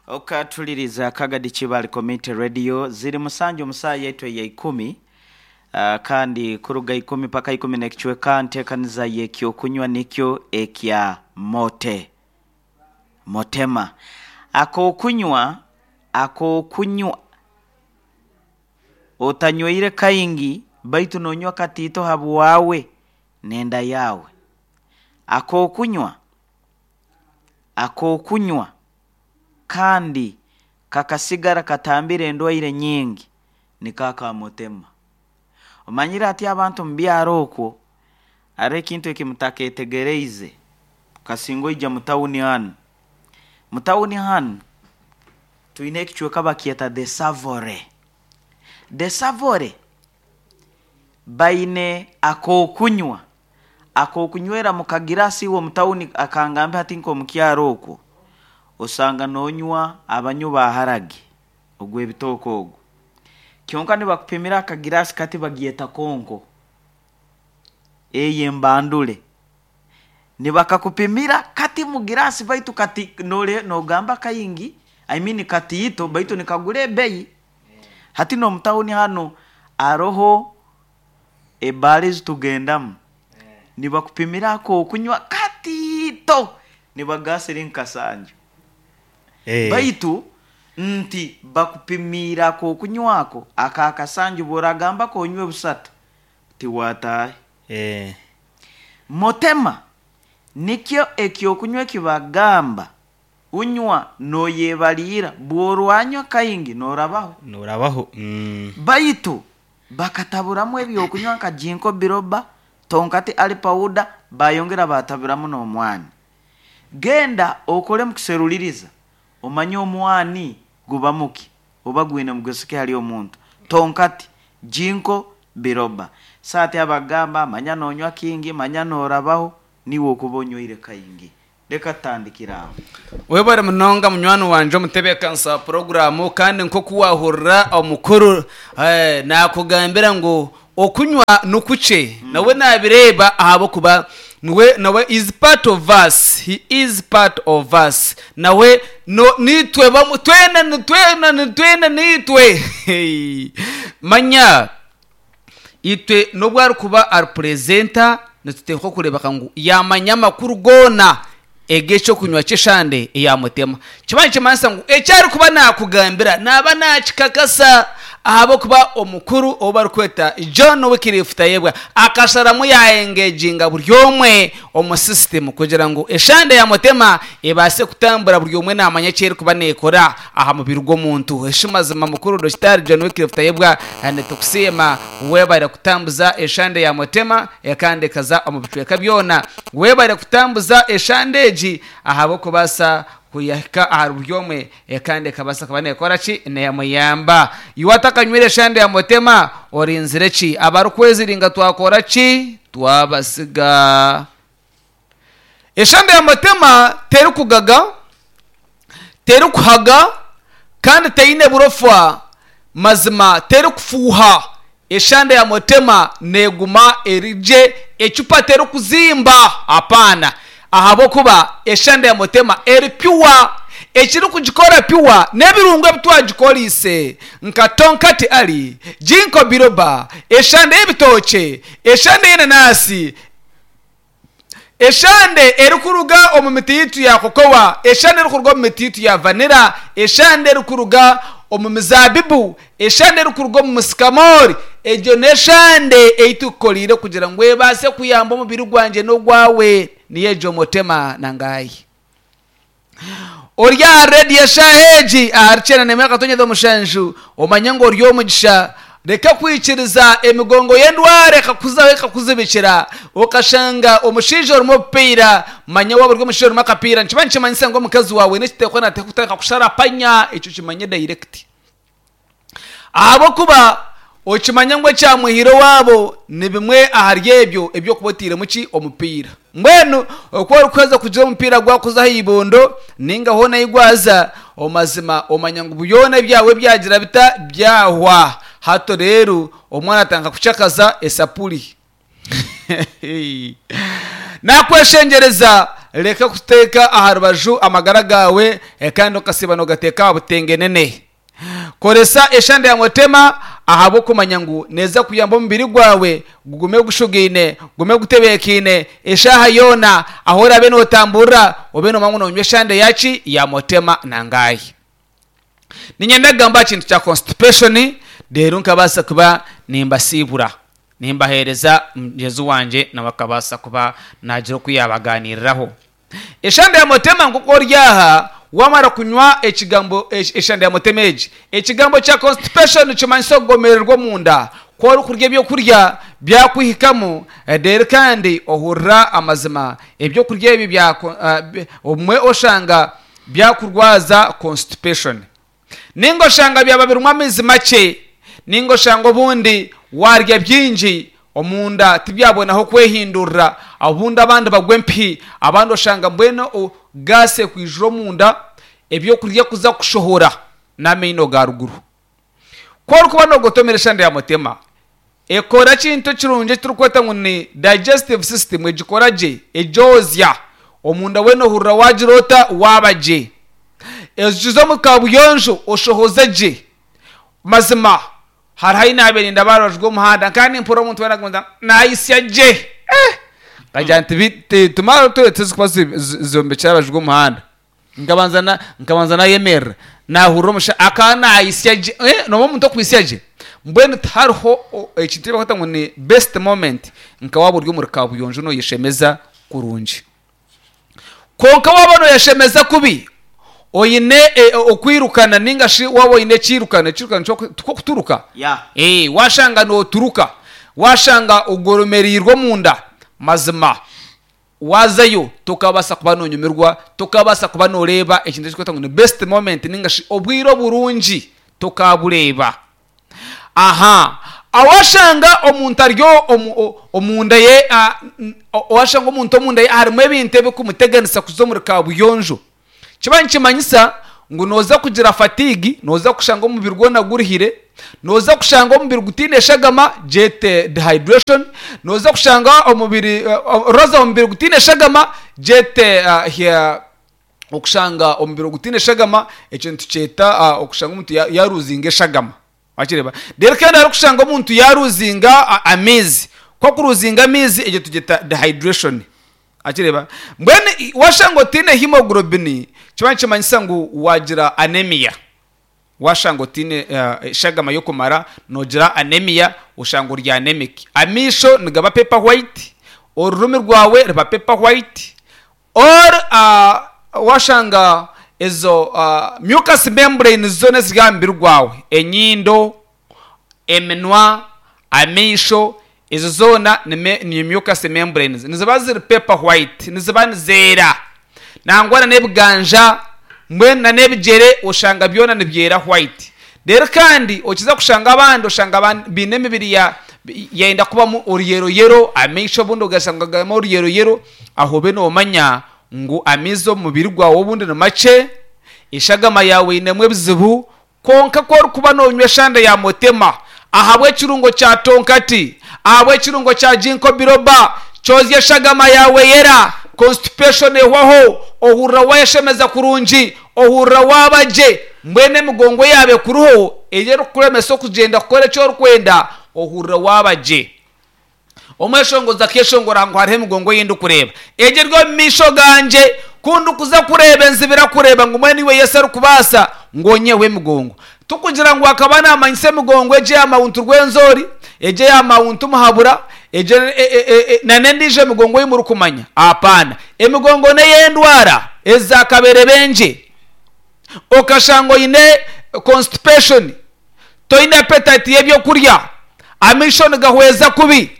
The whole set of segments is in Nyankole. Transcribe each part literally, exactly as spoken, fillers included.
Okatuliriza Kagadi Kibali Community Radio ziri musanju musaa yetu ya ikumi. Uh, kandi kuruga ikumi paka ikumi nekichweka ntekaniza yekyokunywa nikyo ekya mote motema akokunywa akokunywa otanyweire kaingi baitu nonywa katito habwawe nenda yawe akokunywa akokunywa kandi kakasigara katambire endwaire nyingi nikaka motema. Omanyire ati abantu mubyaro okwo ari ekintu ekimutaketegereize kasingo ija mutawuni hanu mutawuni hanu twine ekichweka bakyeta the Savore. The Savore baine akokunywa akokunywera mukagirasi iwe mutawuni akangambe hati nko mukyaro okwo osanga nonywa abanyu baharage ogwe ebitoko ogwo kyonka nibakupimira akagirasi kati bagyeta konko eye mbandule nibakakupimira kati mugirasi baitu kati nole nogamba kayingi I mean kati ito baitu nikagule ebeyi hati no mutawuni hano aroho ebali zitugendamu nibakupimira ako kunywa katito nibagasiri nkasanju Eh. baitu nti bakupimira ko kunywako akakasanju boragamba ko onywe busatu tiwatahe Eh. motema nikyo ekyokunywa ekibagamba unywa noyebalira bworwanywa kaingi norabaho Norabaho. Mm. baitu bakataburamu ebyokunywa nka jinko biroba tonkati ali pawuda bayongera bataburamu n'omwani. Genda okole mukuseruliriza omanye omwani guba muki oba gwine mugusike hali omuntu tonkati jinko biroba saati abagamba manya nonywa kingi manya norabaho niwe okuba onyweire kaingi. Reka tutandikira aho. Webare munonga munywani wanje omutebeekanisa wa puroguramu kandi nk'oku wahurira omukuru eh, nakugambira ngu okunywa nukukye nawe nabireeba ahabwokuba niwe nawe is part of us, he is part of us, nawe no nitwe bamu twena nitwena nitwena nitwe. Hey. Manya itwe nobwo arikuba ari purezenta nituteekwa kureebeka ngu yamanya amakuru goona eg'ekyokunywa ky'eshande eyamutema kiba nikimanyisa ngu ekyarikuba nakugambira naba nakikakasa ahabwokuba omukuru ou barikweta John Wycliffe Tayebwa akasharamu yaengeginga buri omwe omu system kugira ngu eshande ya mutema ebaase kutambura buri omwe namanya eki erikuba neekora aha mubiri gw'omuntu. Eshimazima mukuru Dokitari John Wycliffe Tayebwa nitukusiima webare kutambuza eshande ya mutema kandi ekaza omu bicweka byona, webare kutambuza eshande egi ahabw'okubaasa kuyahika aha buri omwe kandi ekabasa kuba nekora ki neyamuyamba. Iwe atakanywire eshande ya mutema orinzire ki? Abarikweziringa twakora ki? Twabasiga. Eshande ya mutema terikugaga, terikuhaga kandi teine burofa mazima, terikufuuha. Eshande ya mutema neguma erije ecupa terikuzimba apana, ahabwokuba eshande ya mutema eri pure. Ekiri kugikora pure n'ebirungo ebitwagikoriise nka tonkati ali jinko biroba, eshande y'ebitookye, eshande y'enanasi, eshande erikuruga omu miti yitu ya kokowa, eshande erikuruga omu miti yitu ya vanira, eshande erikuruga omu mizabibu, eshande erikuruga omu musikamori. Egyo n'eshande eitukukoriire kugira ngu ebaase kuyamba omubiri gwangye n'ogwawe, niyo egyo mutema nangayi. Ori aha rediyo eshaaha egi ahari kyenda n'emwe akatonyeza omushanju omanye ngu ori omugisha. Reka kwikiriza emigongo y'endwara ekakuzaho ekakuzibikira okashanga omushaija orimu obupiira. Manya waaba ori omushaija orimu akapiira nikiba nikimanyisa ngu omukazi waawe n'ekiteekwa naateekwa kutandika kusharapanya, ekyo kimanye direct ahabwokuba okimanya ngu ekyamwihire owaabo ni bimwe ahari ebyo ebyokuba oteiremu ki omupiira. Mbwenu oku orikuheza kugira omupiira gwakuza aha ibondo ninga hoona ahi gwaza omazima omanya ngu byona ebyawe byagira bita byahwa. Hato rero omwana atandika kucakaza esapuri. Nakweshengereza Reka kuteeka aha rubaju amagara gawe, eh, kandi okasiba nogateeka aha butengenene. Koresa eshande ya mutema ahabw'okumanya ngu neza kuyamba omubiri gwawe gugume gushugaine, gugume gutebeekaine eshaaha yoona. Aho orabe nootamburira, obe noomanya ngu noonywa eshande yaki ya mutema nangahi. Niinyenda kugamba aha kintu kya constipation, reero nkabaasa kuba nimbasiibura, nimbaheereza mugyenzi wangye, nawe akabaasa kuba naagira oku yaabaganiiriraho. Eshande ya mutema, nk'oku ori aha wamara kunywa ekigambo eshande ya mutema egi, ekigambo kya constipation kimanyisa okugomererwa omunda. Ku orikurya ebyokurya byakwihikamu, reero kandi ohurira amazima ebyokurya ebi bya obumwe oshanga byakurwaza constipation, ninga oshanga byaba birimu amaizi makye, ninga oshanga obundi warya bingi omunda tibyabonaho kwehindurira. Obundi abandi bagwa empihi, abandi oshanga mbwenu gaasi ekwijura omunda, ebyokurya kuza kushohora n'amaino ga ruguru. Ku orikuba noogotomera eshande ya mutema, ekora ekintu ekirungi ekiturikweta ngu ni digestive system, egikora gye, egyozya omunda weena, ohurira wagira ota waaba gye, ekiza omu kabuyonjo oshohoze gye. Mazima hariho ahi naabaire nindaba aha rubaju rw'omuhanda, nkaba nimpurira omuntu weena arikugamba naayitsya gye, eh! Nkagira nti tumara toilet ezirikuba zombekire aha rubaju rw'omuhanda. Nkabanza na nkabanza nayemerera, naahurira omushaija akaba naayitsya gye, eh! Noomanya omuntu okwitsya gye? Mbwenu tihariho ekintu eki barikweta ngu ni best moment nka waaba ori omuri kabuyonjo nooyeshemeza kurungi. Kwonka waaba nooyeshemeza kubi, oine okwirukana, ninga shi waaba oine ekiirukano, ekiirukano tikwo kuturuka? Ya. Eh, washanga nooturuka, washanga ogoromereirwe omunda, mazima wazayo tokabaasa kuba noonyumirwa, tokabaasa kuba nooreeba ekintu ekirikwetwa ngu ni best moment, ninga shi obwire oburungi tokabureeba. Aha awashanga omuntu ari omunda ye, owashanga omuntu omunda ye harimu ebintu ebirikumuteganisa kuza omuri kabuyonjo, kiba nikimanyisa ngu nooza kugira fatigue, nooza kushanga omubiri gwona guruhire, nooza kushanga omubiri gutaine shagama, gyete dehydration, nooza kushanga omubiri roza omubiri gutaine shagama, gyete okushanga omubiri gutaine shagama. Ekyo nitukyeta okushanga omuntu yaruzinga eshagama, wakireeba? Reero kandi arikushanga omuntu yaruzinga amaizi. Ku akuruzinga amaizi, egyo tugyeta dehydration, wakireeba? Mbwenu washanga otaine hemoglobin, kiba nikimanyisa ngu wagira anemia. Washanga otaine eshagama y'okumara, noogira anemia, oshanga ori anemic. Amaisho nigaba paper white, orurimi rwawe ruba paper white, or washanga ezo mucus membranes zoona eziri aha mubiri gwawe, enyindo, eminwa, amaisho, ezo zoona ni mucus membranes, niziba ziri paper white, niziba nizeera. Nangwa na n'ebiganja, mbwenu na n'ebigyere, oshanga byona nibyera white. Reero kandi okiza kushanga abandi oshanga baine emibiri ya yayenda kubamu oruyeroyero, amaisho obundi ogashanga garimu oruyeroyero. Aho obe noomanya ngu amaizi omu mubiri gwawe obundi ni makye, eshagama yaawe einemu ebizibu. Kwonka ku orikuba noonywa eshande ya mutema, ahabw'ekirungo kya tonkati, ahabw'ekirungo kya ginkgo biloba, kyozya eshagama yaawe eyera, constipation ehwaho, ohurira waayeshemeza kurungi, ohurira waaba gye. Mbwenu emigongo yaaba ekuriho eri erikukuremesa okugyenda kukora eki orikwenda, ohurira waaba gye. Omweshongozi akeeshongora ngu hariho emigongo ei ndikureeba, egi eri omu maisho gangye, ku ndikuza kureeba enzibira kureeba ngu mbwenu iwe Yesu arikubaasa ngu onyiheho emigongo. Tikugira ngu akaba naamanyisa emigongo egi eya Mount Rwenzori, egi eya Mount Muhabura, egi nana endiijo emigongo ei murikumanya. Apaana. Emigongo n'ey'endwara eza kaberebengye. Okashanga oine constipation, toine appetite y'ebyokurya, amaisho nigahweza kubi,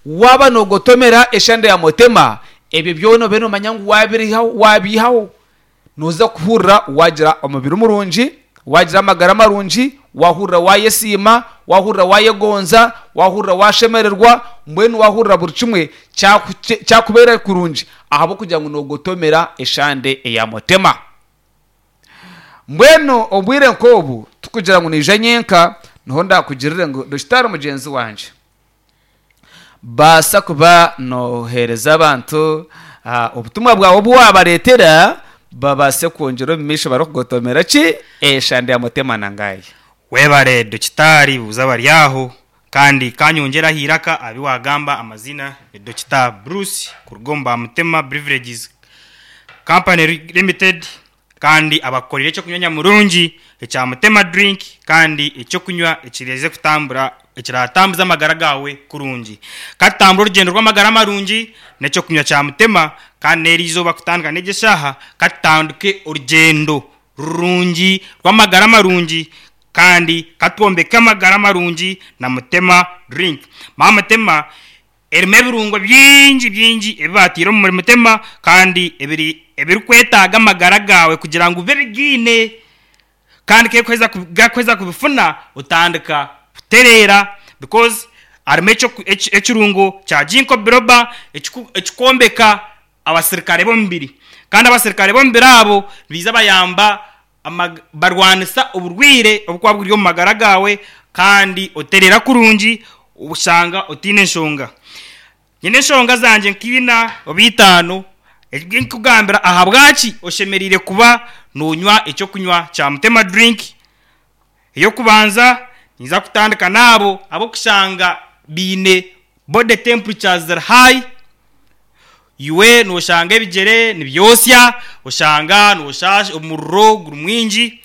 waaba noogotomera eshande ya mutema, ebyo byona obe noomanya ngu waabirihaho, waabiihaho, nooza kuhurira waagira omubiri murungi, waagira amagara marungi, waahurira waayesiima, waahurira waayegonza, waahurira waashemererwa, mbwenu waahurira buri kimwe kyakubeera kurungi ahabw'okugira ngu noogotomera eshande eya mutema. Mbwenu obwire nk'obu tikugira ngu naija nyenka, niho ndaakugirire ngu Dokitaari mugyenzi wangye, baasa kuba nooheereza abantu. Ah, obutumwa bwawe obu wabareetera babase kwongyera omu maisho barikugotomera ki eshande ya mutema nangayi. Webare dokitaari, buuza bari aho kandi kanyongyeraho iraka abi wagamba. Amazina ni Dokita Bruce kuruga omu Bamutema Beverages Company Limited, kandi abakukorera ekyokunywa nyamurungi ekya Mutema Drink, kandi ekyokunywa ekireze kutambura ekiratambuza amagara gawe kurungi. Katutambura orugendo rw'amagara marungi n'ekyokunywa kya Mutema, kandi n'eri izooba kutandika n'egi eshaaha katutandike orugendo rurungi rw'amagara marungi, kandi katwombeke amagara marungi na Mutema Drink. Ma Mutema erimu ebirungo bingi bingi ebi batiire omuri Mutema, kandi ebiri ebirikwetaaga amagara gawe kugira ngu bibe bigiine, kandi kekuheza gakuheza kubifuna otandika kutereera, because harimu ekyoku- eki- ekirungo kya ginkgo biloba ekiku- ekikwombeka abasirikare b'omubiri, kandi abasirikare b'omubiri abo biza bayamba amag- barwanisa oburwire obukuba buri omu magara gawe, kandi oterera kurungi oshanga otiine enshonga. Nyine enshonga zangye nkiina oba itaano nkugambira ahabwaki oshemereire kuba nonywa ekyokunywa kya Mutema Drink. Ey'okubanza, niza kutandika n'abo abokushanga biine body temperatures ziri high. Iwe noshanga ebigyere nibyosya, oshanga noshasha, omuriro guri mwingi.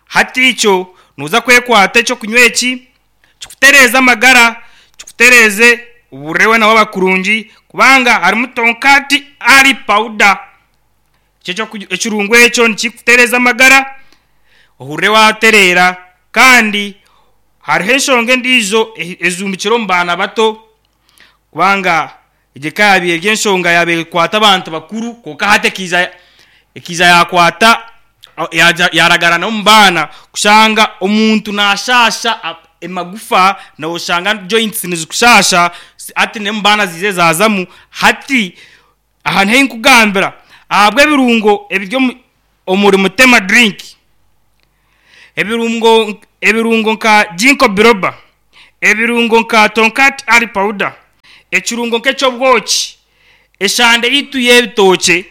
Hati ekyo noza kwekwata ekyokunywa eki kikutereeze amagara, kikutereeze oburire weena waba kurungi, kubanga harimu tonkati ali powder. Ekyo ekirungo ekyo nikikutereeza amagara ohurire watereera. Kandi hariho enshonga endiijo ejumbikire omu baana bato, kubanga egyo eka yabaire eri enshonga yabaire ekwata abantu bakuru, konka hati ekiija ekiija yakwata yaja yaragara n'omu baana, kushanga omuntu nashasha emagufa, noshanga joints nizikushasha. Hati n'omu baana ziize zazamu. Hati aha niho nkugambira ahabw'ebirungo ebiri omuri Mutema Drink, ebirungo ebirungo nka ginkgo biloba, ebirungo nka tonkat ali powder, ekirungo nk'eky'obwoki, eshande yitu y'ebitookye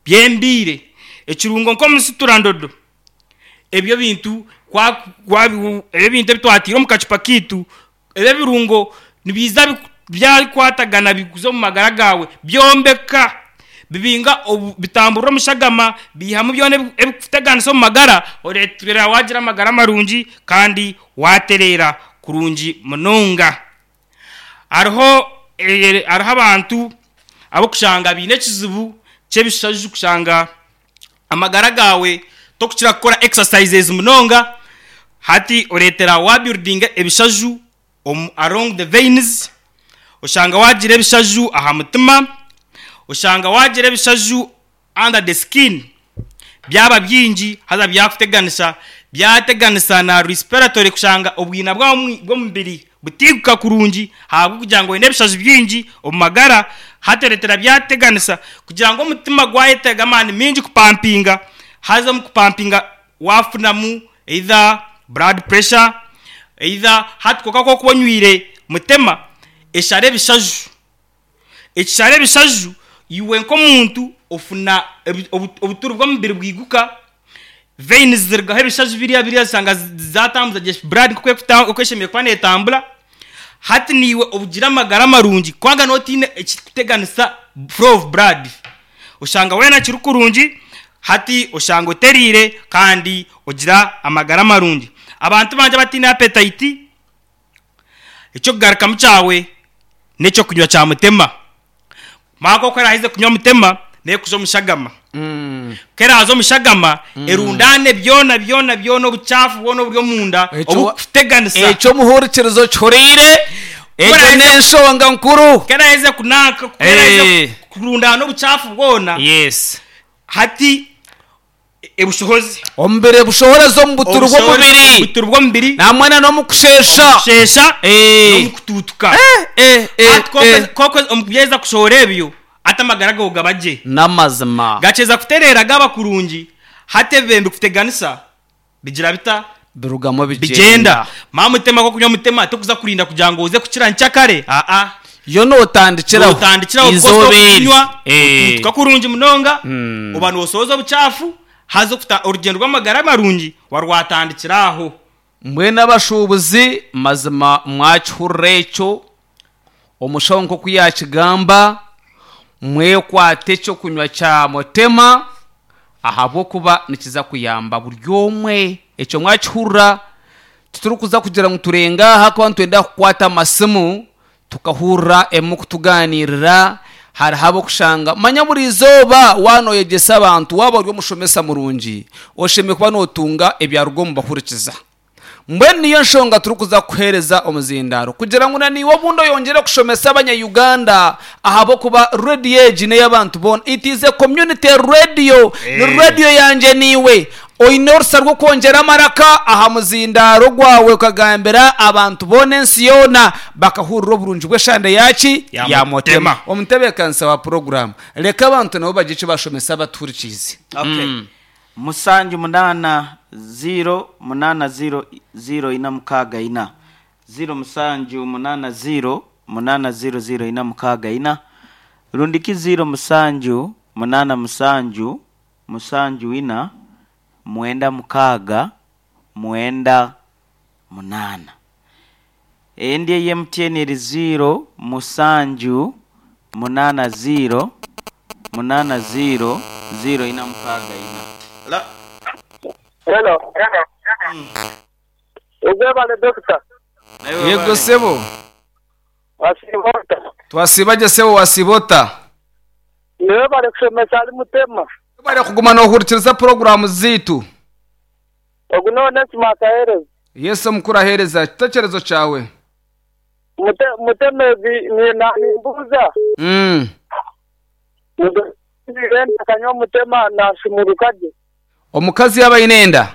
byembiire, ekirungo nk'omusiturandodo, ebyo bintu kwa ebyo bintu ebitwatiire omu kacupa kiitu, ebyo ebirungo nibiza byakwatagana bikuza omu magara gawe byombeka bibinga bitamburira omushagama, biihamu byona ebikuteganisa omu magara, oreetera wagira amagara marungi kandi watereera kurungi munonga. Hariho hariho abantu abokushanga biine ekizibu ky'ebishaju, kushanga amagara gawe tokukira kukora exercises munonga. Hati oreetera wabuildinga ebishaju omu along the veins, oshanga wagira ebishaju aha mutima, oshanga wagira ebishaju under the skin, byaba bingi haza byakuteganisa, byateganisa na respiratory, kushanga obwina bw'omubiri butiguka kurungi ahabw'okugira ngu oine ebishaju bingi omu magara. Hati oreetera byateganisa kugira ngu omutima gwayetaaga amaani mingi kupampinga, haza omu kupampinga wafunamu either blood pressure either. Hati konka kokuba onywire Mutema eshara ebishaju, ekishara ebishaju, iwe nk'omuntu ofuna obuturi bw'omubiri bwiguka, veins zirugaho ebishaju biriya biriya zishanga zatambuza gye blood nk'oku eshemereire kuba neetambura. Hati niiwe obugira amagara marungi kubanga nootiine ekirikuteganisa flow of blood, oshanga weena kiri kurungi. Hati oshanga oteriire kandi ogira amagara marungi. Abantu bangye abatiine appetite, ekyokugarukamu kyawe n'ekyokunywa kya Mutema. Mara nk'oku oraheze kunywa Mutema neekuza omushagama, keraza omushagama erundaane byona byona byona obucaafu bwona oburi omunda obukuteganisa. Ekyo omuhurikirizo kihuriire, egyo n'enshonga nkuru. Keraheze kunanka, keraheze kurundaana obucaafu bwona, yes hati ebushohozi omubiri bushohoreza omu buturu bw'omubiri, obuturu bw'omubiri namwena n'omukushesha. Omukushesha Eh. n'omukutuutuka. Eh, eh, Hati eh. koko omukubyeza kushohora ebyo, hati amagara gawe gaba gye, n'amazima gakyeza kutereera gaba kurungi. Hati ebibembe kuteganisa bigira bita? Birugamu. Bigenda. Maa Mutema kokunywa Mutema tokuza kurinda kugira ngu oze kukira nkyakare, aa. Yo notandikiraho. Notandikiraho. Izoberi. Kunywa Eh. otuutuka kurungi munonga, Mm. oba nosohoza obucaafu haza okuta orugendo rw'amagara marungi warwatandikira aho. Mbwenu abashuubuzi, mazima mwakihurira ekyo omushaho nk'oku yakigamba, mwekwate ekyokunywa kya Mutema ahabw'okuba nikiza kuyamba buri omwe. Ekyo mwakihurira. Titurikuza kugira ngu turenga aha kuba nitwenda kukwata amasimu tukahurira emu kutuganirira. Hariho abokushanga manya buri izooba wanoyegyesa abantu, waaba ori omushomesa murungi oshemeye kuba notunga ebyaruga omu bahurikiza. Mbwenu niyo nshonga turikuza kuhereza omuzindaro kugira ngu naniwe obundi oyongere kushomesa abanya-Uganda, ahabwokuba radio egi n'ey'abantu boona. It is a community radio. Ni Eh. radio yangye niwe. Oine orusa rw'okwongyera amaraka aha muzindaro gwawe ukagambira abantu boona, ensi yoona bakahurira oburungi bw'eshande yaki? Ya. Ya Mutema. Mutema. Omutebeekanisa wa poroguramu, reka abantu nabo bagire eki bashomesa abatuhurikiize. Okay. Musanju munana zero munana zero zero ina mukaaga ina, zero musanju munana zero munana zero zero ina mukaaga ina, rundiki zero musanju munana musanju musanju ina mwenda mukaaga mwenda munana. Endi eye M T N eri zero musanju munana zero munana zero zero ina mukaaga ina. La. Hello. Ugwebale, doctor. Yego sebo. Wasibota. Twasibagye sebo, wasibota? Niwe bari kushomesa ari Mutema. Bari kuguma nohurikiriza poroguramu ziitu. Ogu none smart ahereza. Yesu omukuru ahereza ekitekerezo kyawe. Mute muteme bi ni na nimbuza. Mm. Mugenda kanywa Mutema na shumurukaje. Omukazi yaba aine enda?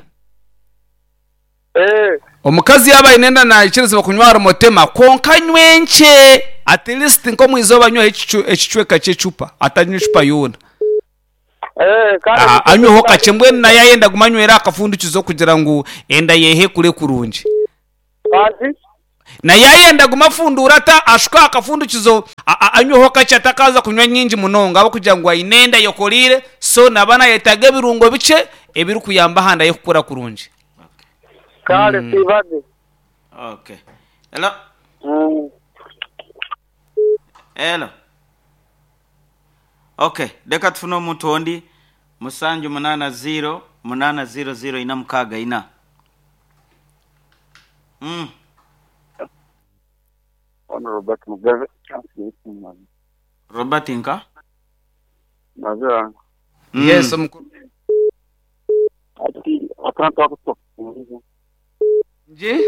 Eh. Omukazi yaba aine enda nayikirizibwa kunywa Mutema, konka anywe nkye, at least nk'omwizooba anyweho ekicu- ekicweka ky'ecupa, atanywa ecupa yoona. Eh, kandi Aha, anyweho kakye. Mbwenu naye ayenda guma anywera akafundikizo kugira ngu enda yehe kure kurungi. Kandi Naye ayenda guma afundura ata ashuka akafundikizo, a- a- anyweho kakye, atakaza kunywa nyingi munonga abo kugira ngu aine enda yokorire, so naba nayetaga ebirungo bikye ebirikuyamba ahanda ye kukura kurungi. Kale sibade. Okay. Hello. Mm. Hello. Okay, reka tufune omuntu ondi. Musanju munana zero munana zero zero ina mukaaga ina. Mm. Ono Robert Mugabe. Robert nka? Mazira. Mm. Yes, omukuru. Ati akantu akutokumiza. Nje?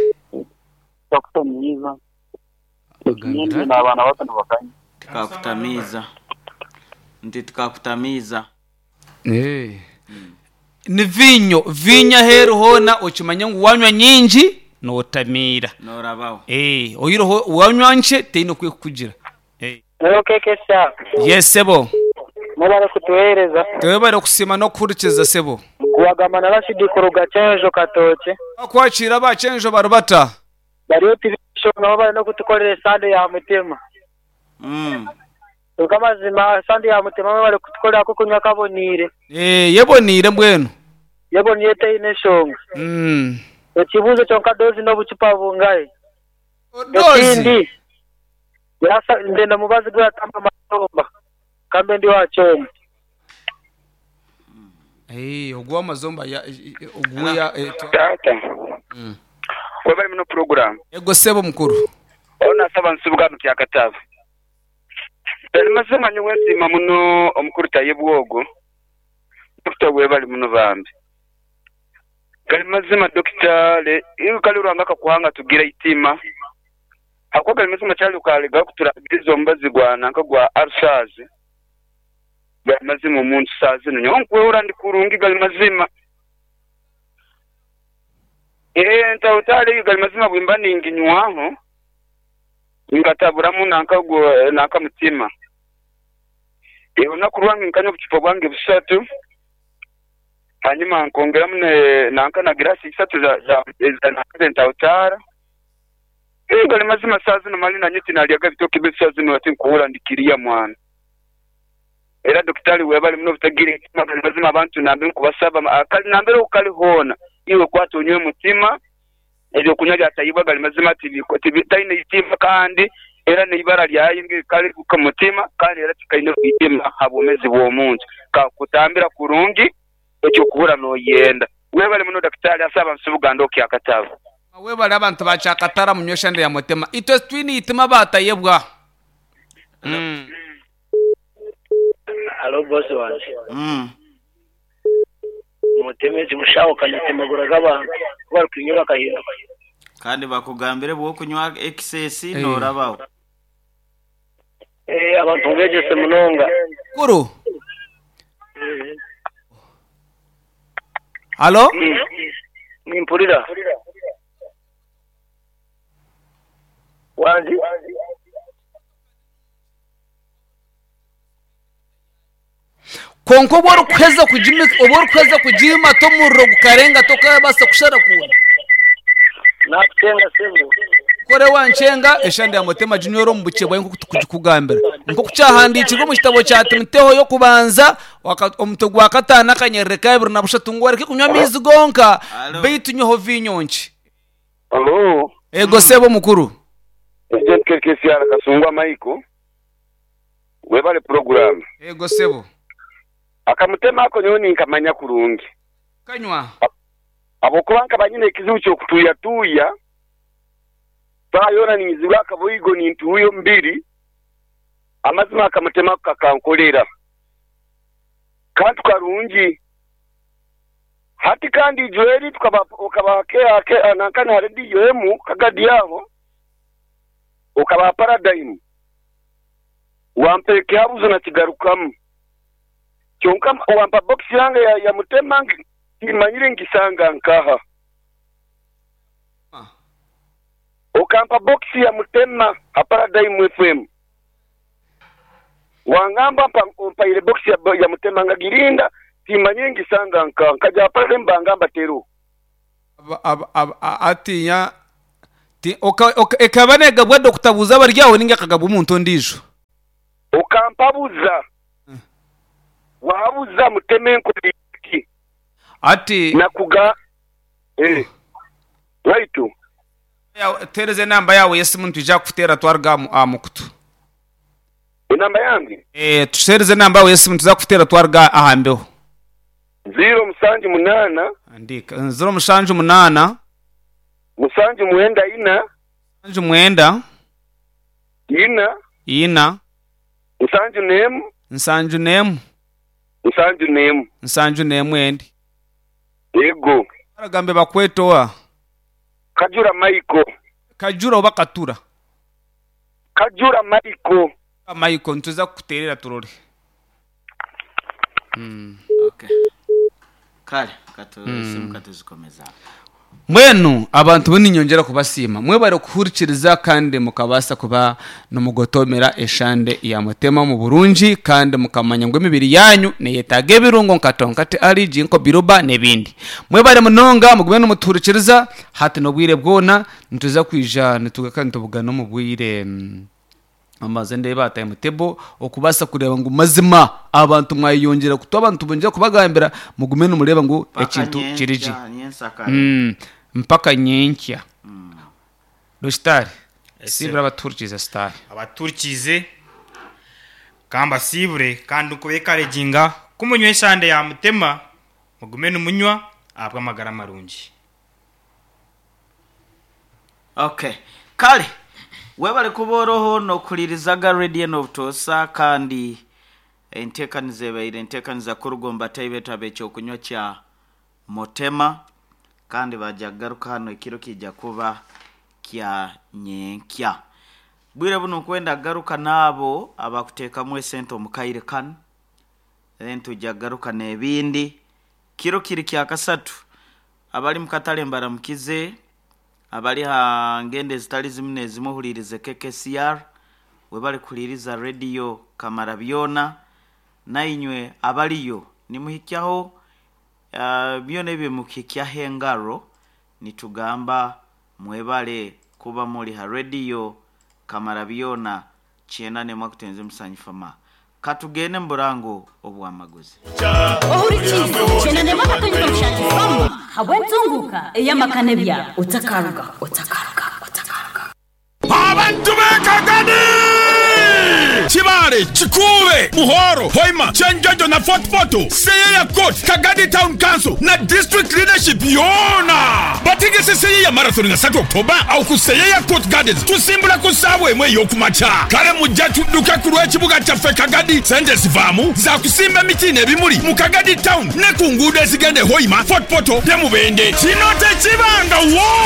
Twakutomiza. Nyinyi n'abaana bato nibakanya. Tukakutamiza. Nti tukakutamiza. Eh. Ni vinyo, vinyo aheeru hoona okimanya ngu wanywa nyingi nootamiira. Norabaho. Eh, oyiroho wanywa nkye teine okwekukugira. Eh. Hello keke sha. Yes sebo. Mubare kutuhereza. Twebare kusiima n'okuhurikiza sebo. Kuwagamba na Rashidi kuruga Chenjo Katoche. Kwakira abakyenjo barubata. Bariyo tibisho nabo bari no kutukorera sande ya Mutima. Mm. Tukamazima sande ya Mutima bari kutukorera ko kunywa kabonire. Eh, yeboniire mbwenu. Yeboniire teine shonga. Mm. Ekibuzo kyonka, dozi n'obucupa bungahe? Dozi. Ekindi yasa ndenda mubazi gwatamba mazomba kambe ndi wachoma. Eh, ogwa amazomba ya ogwa ya eh, twa- Tata. Mm. Webale muno program. Ego sebo mukuru. Ona saba nsubuga mu kyakatabo. Bali mazima nyowe nsima muno omukuru Tayebwogo. Dokita, webali muno bambi. Gali mazima dokita le iyo kali uranga kakuhanga tugira itima. Hakuwa gali mazima cyali ukalega kuturagiriza omubazi gwa nanka gwa ulcers. Gali mazima omuntu saazino nyowe nkwehura ndi kurungi gali mazima. Eh, ntawutale gali mazima bwimba ninginywaho ngataburamu nanka gwo nanka mutima. Eh, olunaku lwange nkanywa obucupa bwange busatu, hanyuma nkongeramu ne nanka na girasi isatu za za za nanka ntawutara. Ngali mazima saa zino mali nanye tinalyaga ebitoke bye saa zino ati nkuhura ndikiriya mwana. Era dokitari webali muno butagira ekitima gali mazima abantu nambe nkubasaba akali nambere ukali hona iwe kwata onywe mutima ebyokunywa byatayibwa gali mazima tibiko tibitaine itima kandi era neibara lyayo kali ku mutima kandi era tikaine itima habumezi bw'omuntu kakutambira kurungi ekyo kuhura noyenda webali muno daktari asaba nsubuganda okyakatabo webali abantu bakyakatara munyweshande ya mutima itwe twini itima batayebwa. Mm. Alo boss wanje. Mm. Mutemezi mushaho kanitemagura g'abantu bari kunywa bakahinduka. Kandi bakugambire bwo kunywa excess norabaho. Eh abantu ngejese munonga. Kuru. Halo? Nimpurira. Wanji? Konko bwo rukweza kujima obwo rukweza kujima tomurro gukarenga tokabasa kushara kuna. Nakutenga sebo. Kore wanchenga eshande ya mutema junior omubuche bwa nko kugambira. Nko kucyahandikirwe mu kitabo cya Timoteho yo kubanza omutwe gwa katana kanyerere kabiri na bushatu ngo areke kunywa amizi gonka beitu nyoho vinyonki. Hello. Ego sebo mukuru. Agent K K C R Kasungwa Maiko. Webale program. Ego sebo. Akamutema ako nyoni nkamanya kurungi. Kanywa. Abokuba nkabanyine ekizibu kyo kutuya tuya. Bayona nizibwa akabuigo nintuyo mbiri. Amazima akamutema kakankolera. Kantu karungi. Hati kandi Joeli tukaba ukaba ke anankana radio emu kagadi yaho. Ukaba paradigm. Wampeke habuzo na kigarukamu. Kyonka wampa box yange ya, ya mutema kimanyire ngisanga nkaha. Ah. Okampa box ya mutema ha Paradigm F M. Wangamba mpa ile box ya, ya mutema ngagirinda kimanyire ngisanga nkaha nkaja Paradigm bangamba teru. Atinya ti oka ekabane gabwa dokutabuza baryaho ninga kagabwa umuntu ndijo. Okampabuza. Wabuza muteme nkuliki. Ati nakuga eh waitu ya tereze namba yawe yesimu ntija kutera twarga amukutu. Inamba yange eh tusereze namba yawe yesimu tuza kutera twarga ahambeho. zero musanju munana andika zero musanju munana musanju mwenda ina musanju mwenda ina ina musanju nemu nsanju nemu nsanju nemu nsanju nemu endi yego aragambe bakwetoa Kajura Maiko Kajura oba Katura Kajura Maiko Maiko ntuza kuterera turore. Mm. Okay. Kale katu mm. simu katuzikomeza. Mwenu abantu boninyongera kubasima mwe bari kuhurikiriza kandi mukabasa kuba nomugotomera eshande ya mutema mu Burungi kandi mukamanya ngo emibiri yanyu neyetaga ebirungo nkatonkate ali jinko biroba nebindi mwe bari munonga mugume nomuturikiriza hati nobwire bwona ntuza kwija nitugaka ntubugana mu bwire amaze ndeba ataye mutebo okubasa kureba ngo mazima abantu mwayongera kuto abantu bonjera kubagambira mugume numureba ngo ekintu kiriji mm mpaka nyenkya mm. Dostari sibra abaturkize star abaturkize kamba sibure kandi ukubekareginga kumunywe shande ya mutema mugume numunywa abwa magara marungi. Okay kale webale kuboroho no kulirizaga radio no tosa kandi entekanize baire entekaniza kurugomba taibeta abekyo kunywa kya motema kandi bajagaruka hano ekiro kijja kuba kya nyenkya bwire buno kwenda garuka nabo abakuteekamu esente omukaire kano then tujagaruka n'ebindi kiro kiri kya kasatu abali mukatale mbaramukize abali ha ngende zitali zimwe zimuhulirize K K C R webali kuliriza radio Kamarabyona nainywe abaliyo nimuhikyaho uh, byona ebyo mukikyaho engaro nitugamba mwebale Kuba muri ha rediyo kamara byona kyenda nemwe akutenze musanyifama katugende muburango obwamaguzi. Ohurikize kyenda nemwe akatonyeza mushangi habwentunguka eyamakane bya otakaruga otakaruga otakaruga. Abantu b'Ekagadi, Kibale, Kikuube, Muhoro, Hoima, Kyenjojo na Fort Portal, Seyeya Court, Kagadi Town Council na District Leadership yona bategese Seyeya Marathon nga satu October awo ku Seyeya Court Gardens. Tusimbula ku ssaawa emu ey'okumakya. Kale mujja tudduke ku lw'ekibuga kyaffe Kagadi. Sente zivaamu za kusimba emiti n'ebimuli mu Kagadi Town ne ku nguudo ezigenda e Hoima, Fort Portal ne Mubende. Kino tekibangawo.